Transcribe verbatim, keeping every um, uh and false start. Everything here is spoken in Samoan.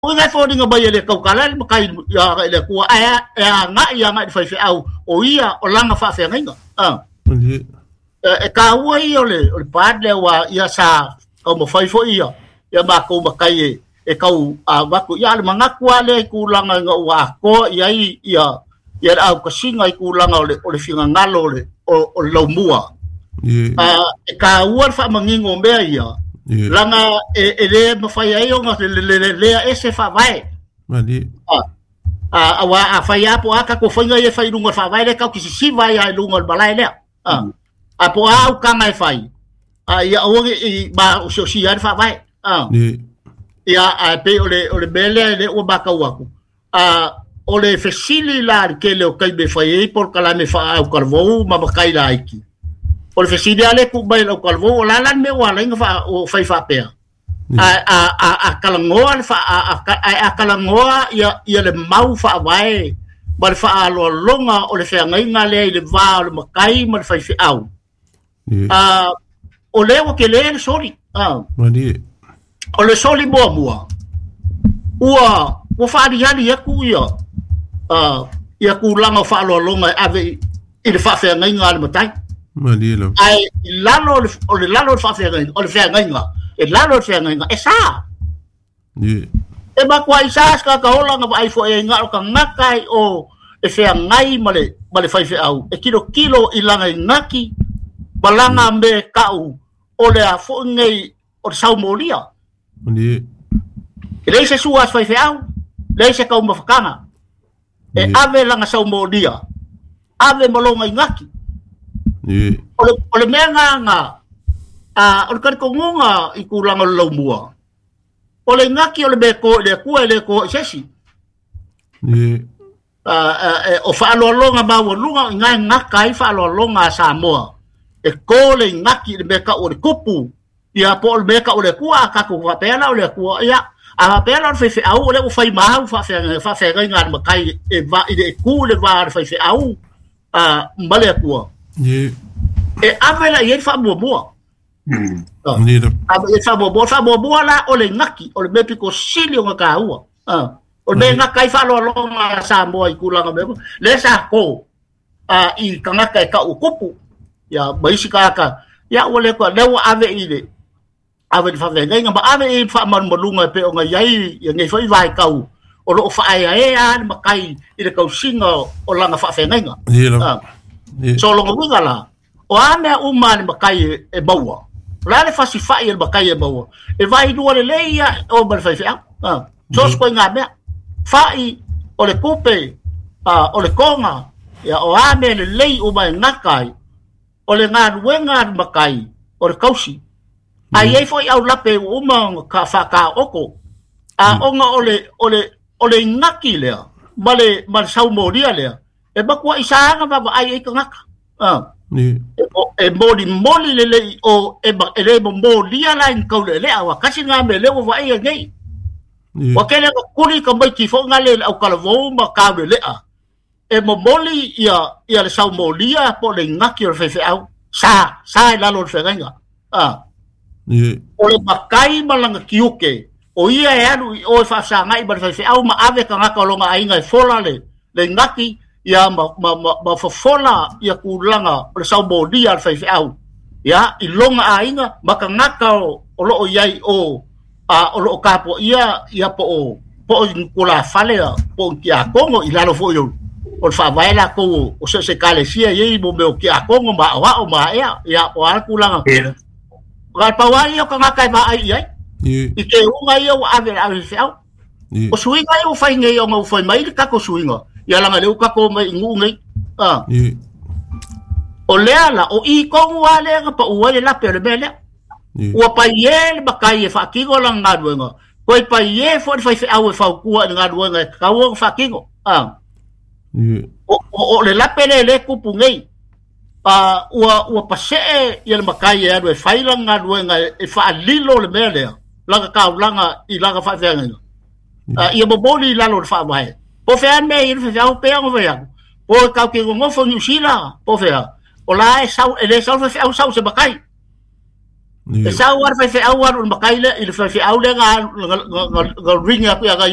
O ngai fōringa mai e le kaukala le makai ia i le kua e e anga ia ngai fai feau o ia o langa faafeagaiga. Ah. E ka ua ia o le o le pad le wa ia sa kau mawhai fo ia ia makou makai e e kau a waku ia le mangaku a le i kūlanga nga ua akoa ia i ia ia le au kasinga i kūlanga o le o le fingangalo o le o, o le laumua. A e ka ua le whaamangingo mea ia. Langa e e le mawhai ai o ngā le le le lea ese whaavae. A a wa a whai apo a kako whainga i e whai lunga whaavae le kau ki sisiva ia i lunga o le malae lea. A a po a au kanga e whai. A ia oge i ma o si o si a le whaavae. A ia a pe o le o le mele le ua makau aku. A o le fesili la le kele o kai me whai ei por kala me wha au karvou ma makai la aiki. O le fesili ale ku mai lau kalvou o la lan me o ala inga wha o whai whapea. A a a a kalangoa le wha a a a, a kalangoa ia ia le mau whaavae ma le whaaloalonga o le wheangaiga lea i le vā o le makai ma le whai wheau. A o lea ua ke lea le soli. A o le soli mua mua. Ua ua whaalihali aku ia uh, ia kūlanga o whaaloalonga e ave i, i le whaafeangaiga a le matai. Ai lalo o le lalo o le whaafeangaiga o le wheangaiga e lalo o le wheangaiga e sa. E makua i sa ska ka ola nga ai fo e nga o ka ngakai o e wheangai ma le ma le whai wheau. E kilo kilo i langa i ngaki balanga me kau o le a fo ngei o le saumolia. E lei se sua as whai wheau, lei se kau mawhakanga. E ave langa saumolia, ave malonga i ngaki. O le, o le mea ngā ngā, a, o le karikongonga i kūlanga o le laumua. O le ngaki o le mea ko, le kua e le ko i sesi. A, a, e, o whaaloalonga maualunga i ngai ngaka i whaaloalonga a Samoa. E ko le ngaki le mea ka o le kupu. Ia po o le mea ka o le kua, a kako whapeana o le kua. Ia, a whapeana o le whaiwheau, o le o whai mahau whaafeanga i ngā makai e va, i le e ku le vā le whaiwheau a ma le kua. E ave la i e whaamua. Ave i whaamua, whaamua la o le ngaki, o le mea piko sili o ngā kāua. O le mea ngaka i whaaloalonga a Samoa i kūlanga mea. Le sa ko a, i kangaka e kau kupu. Ia, maisi kaka. Ia, ua le kua, lea ua ave i le ave i whaafeangaiga, ma ave i whaamalumalunga e pe o ngai ai, ia ngei whai vai kau. O loo whaea e a le makai i le kausinga o langa whaafeangaiga. So longa winga la, o a mea uma le makai e, e maua. La le fasi whai e le makai e maua. E vai lua le leia o ma le whai wheau. Ah. So sko i ngā mea. Whai o le kupe, uh, o le konga, ia, o a mea le lei uma e ngakai, o le ngā nuenga le makai, o le kausi. A iei foi au lape uma ka whaka oko. A onga o le, o le, o le ngaki lea, ma le, ma le saumoria lea. E makua i saanga wawa ai e ka ngaka. Ah. E, e moli moli le le o e, ma, e le mo molia la in kau le le awa kasi ngā me le o wa e ngei. Wa kele ka kuri ka mai ki fo ngā le au kalavou ma kau le lea. E mo moli ia, ia le saumolia po le ngaki o le whewheau. Sa, sa e lalo le whengainga. Ah. O le makai malanga kiuke. O ia e alu i o e whaasangai ma le whewheau ma ave ka ngaka o longa ainga e fola le, le ngaki ia ma ma ma, ma fofola ia kūlanga o le saumolia le whaiwheau. Ia i longa ainga ma ka ngaka o, o loo iai o a o loo kapo ia ia po o po o kula fale po o kia kongo i lalo fo i o o le whaavae la kou o se se kalesia iei mo meo kia kongo ma o ao ma ea ia o ala kūlanga. Ka pau ai o ka ngaka e maa i ai. I te unga ia o ave ave wheau. O suinga ia o whai ngei o ngau whai mai le kako suinga. Ia langa leu kako mai ngu ngei. Ah. O lea la, o i kongu a lea nga pa ua le lape o le mea lea. Ua pai e le makai e whaakingo langa ngā. Koe pai e fo le whai wheau e whaukua i ngā luenga e kaua whaakingo. Ah. O, o, o le lape le le kupu ngei. Ah, ua, ua pasee ia le makai e anu e whai langa ngā luenga e, e whaalilo le mea lea. Langa kaulanga i langa whaafeangaiga. Ah, ia momoli i lalo le whaamahe. Po whea mea i le whewhau pea ngo whea. Po e kau ke ngofo New Zealand, po whea. O la e sau, e le sau whewhau sau se makai. E sau lava le faifeau alu i le matai lea i le faifeau lea na na ring atu ia ia.